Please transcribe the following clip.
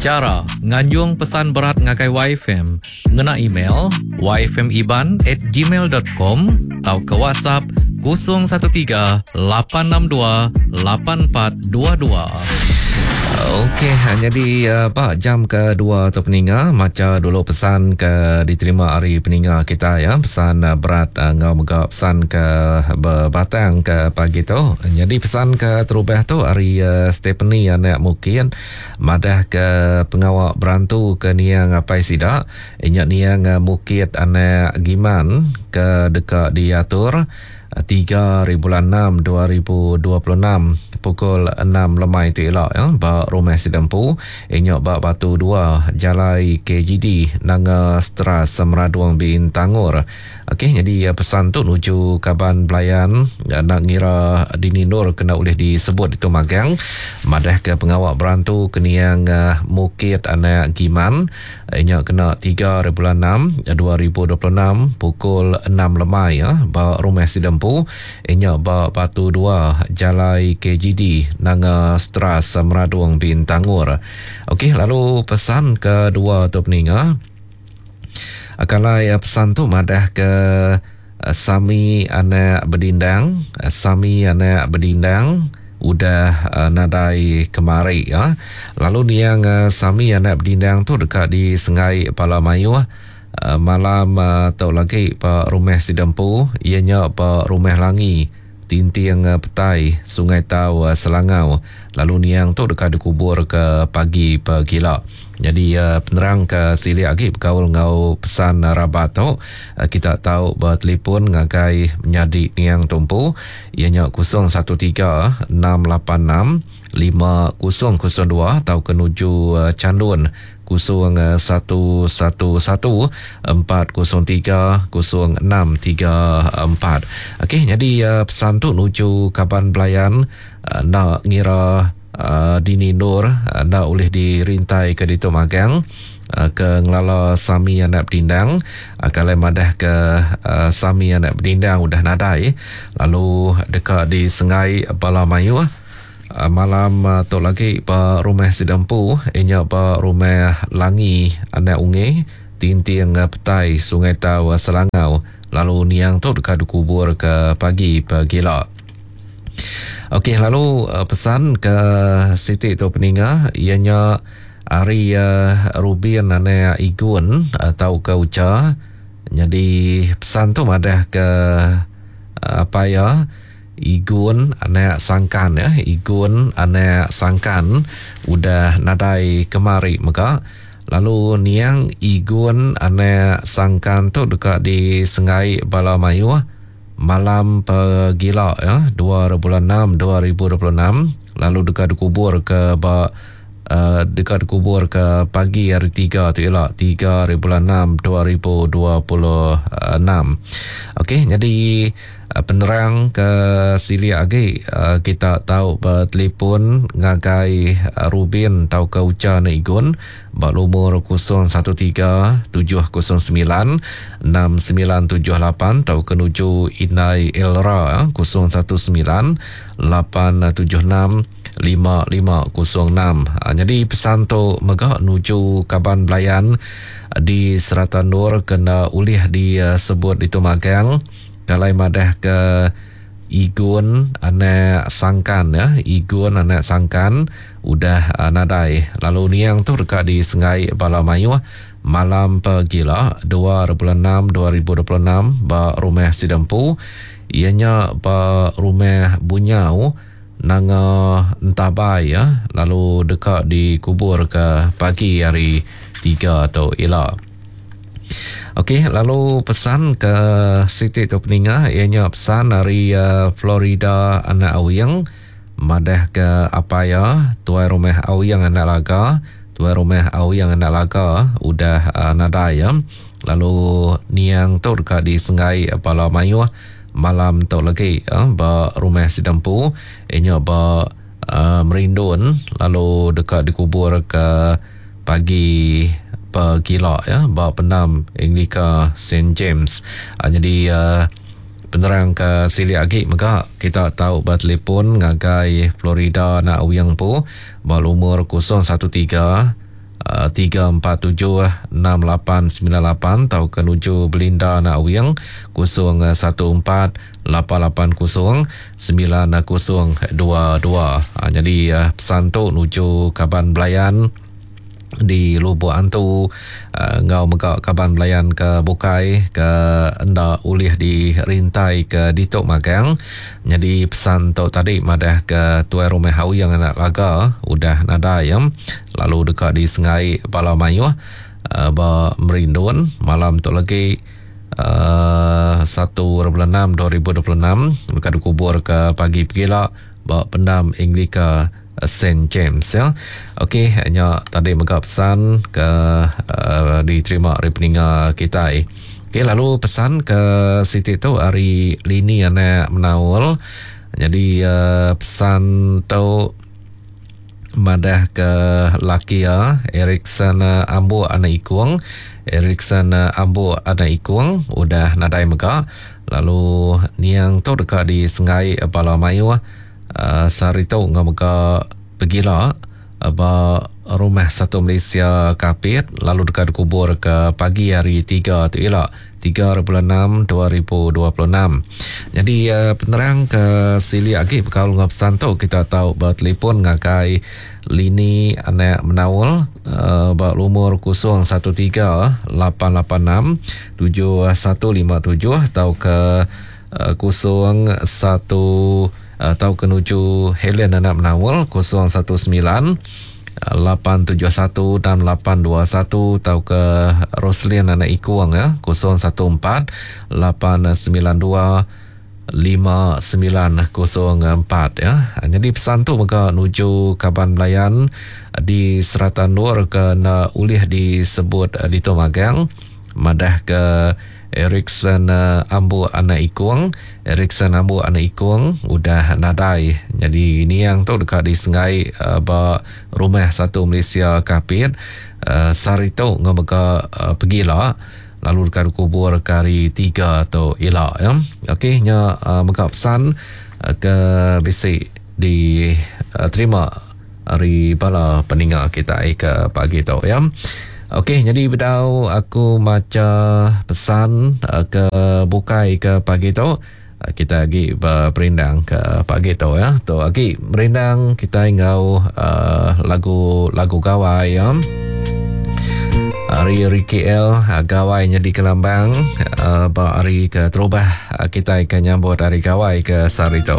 Chara nganjung pesan berat ngagai YFM ngena email yfmiban at gmail dot com tauka WhatsApp 013 862 8422. Okey, nyadi ba jam kedua tu peninga macha dulu pesan ke diterima ari peninga kita ya, pesan berat enggau mega pesan ke bebatang ke pagi tu. Nyadi pesan ke terubah tu ari Stephanie anak Mukin Madah ke pengawa berantu ke niang apai sida nya niang Mukit anak Giman ke deka diatur 3 ribulan 6 2026 pukul 6 lemai tu ila ba rumah sida empu nya ba Batu 2 Jalai KGD Nanga Stras Meradong Bintangor. Okey nyadi pesan tu nuju kaban belayan enda ngira dini endur kena ulih disebut ditu magang madahka pengawa berantu ke niang Mukit anak Giman nya kena 3 hari bulan 6 2026 pukul 6 lemai ba rumah sida empu nya ba Batu 2 Jalai KGD Nanga Stras Meradong Bintangor. Okey lalu pesan kedua tu peninga. Kalai pesan tu madah ke Sami anak Bedindang, Sami anak Bedindang udah nadai kemari. Lalu niang Sami anak Bedindang tu deka disenggai bala mayuh malam tu lagi ba rumah sida empu iya nya ba Rumah Langi, Tinting Petai, Sungai Tau, Selangau. Lalu niang tu deka dikubur ke pagi pegila. Nyadi penerang ke silik agi bekaul enggau pesan rabat tu, kita tau betelefon ngagai menyadi niang tu empu iya nya 013 686 5002 tauka nuju Chandun 0111 403 0634. Okey, nyadi pesan tu nuju kaban belayan enda ngira dini endur enda ulih dirintai ke ditu magang ke ngelala Sami anak Bedindang kalai madah ke Sami anak Bedindang udah nadai lalu deka disengai bala mayuh. Malam tu lagi ba rumah sida empu iya nya ba Rumah Langi Anak Ungi, Tinting Petai, Sungai Tau, Selangau lalu niang tu deka dikubur ke pagi pegila. Okey lalu pesan ke siti tu peninga iya nya ari Rubin anak Igun tauka Ucha nyadi pesan tu madah ke apai iya Igun anak Sangkan ya, Igun anak Sangkan udah nadai kemari mega. Lalu niang Igun anak Sangkan tu deka disenggai bala mayuh malam pegila ya, 2 bulan 6 2026 lalu deka dikubur ke ba deka dikubur ke pagi hari tiga tu ila 3 hari bulan 6 2026. Okey nyadi Penerang ke silik agi kita tau betelefon ngagai Rubin tauka Ucha Nek Igun ba lumur 013 709 6978 tauka nuju Indai Elra 019 876 5506. Nyadi pesan tu mega nuju kaban belayan di serata endur ke enda ulih disebut ditu magang. Kalai madah ke Igun anak Sangkan ya, Igun anak Sangkan udah nadai lalu niang tu deka disenggai bala mayuh malam pegila 2 bulan 6 2026 ba rumah sida empu iya nya ba Rumah Bunyau Nanga Entabai ya lalu deka dikubur ke pagi hari 3 tu ila. Okey, lalu pesan ke siti tu peninga iya nya pesan ari uh, Florida anak Awing madah ke apai iya tuai rumah Awing anak Laga, tuai rumah Awing anak Laga udah uh, nadai ya. Lalu niang tu deka disenggai bala mayuh malam tu lagi uh, ba rumah sida empu iya nya ba uh, Merindun lalu deka dikubur ke pagi pegila ya ba pendam Anglika Saint James. Uh, jadi uh, penerang ke silik agi mega kita tau bertelefon ngagai Florida anak Wing Pu ba lumur 013 347 6898 tauka nuju Belinda anak Wing 014 880 9022. Nyadi pesan tu nuju kaban belayan di Lubok Antu enggau mega kaban belayan ke bukai ke enda ulih dirintai ke ditu magang. Nyadi pesan tu tadi madah ke tuai rumah Auyang anak Laga udah nadai lalu deka disengai bala mayuh ba Merindun malam tu lagi 1 bulan 6 2026 deka dikubur ke pagi pegila ba pendam Anglika Saint James ya. Okey nya tadi mega pesan ke uh, diterima ari peninga kitai. Okey lalu pesan ke siti tu ari Lini anak Menaul. Jadi uh, pesan tu madah ke laki iya Erikson Ambuk anak Ikung. Erikson Ambuk anak Ikung udah nadai mega lalu niang tu deka disenggai bala mayuh Sehari tu enggau mega pegila ba Rumah Satu Malaysia Kapit lalu deka dikubur ke pagi hari Tiga tu ila, 3 bulan 6 2026. Nyadi penerang ke silik agi bekaul enggau pesan tu kita tau betelefon ngagai Lini Anak Menaul ba lumur 013 886 7157 tauka 01 tauka nuju Helen Anak Menaul 019 871 6821 tauka Roslin Anak Ikung ya 014 892 5904 ya. Jadi pesan tu mega nuju kaban belayan di serata endur ke enda ulih disebut ditu magang madah ke Erikson Ambuk anak Ikung. Erikson Ambuk anak Ikung udah nadai nyadi niang tu deka disenggai ba Rumah Satu Malaysia Kapit sehari tu enggau mega pegila lalu deka dikubur ke hari Tiga tu ila. Okey nya mega pesan ke bisi diterima ari bala peninga kitai ke pagi tu ya. Okey nyadi bedau aku macha pesan ke bukai ke pagi tu kita agi beperindang ke pagi tu ya. Tu agi merindang kitai enggau lagu lagu gawai ya. Ari Ricky L gawai nyadi kelambang ba hari ke terubah kitai ke nyambut hari gawai ke sehari tu.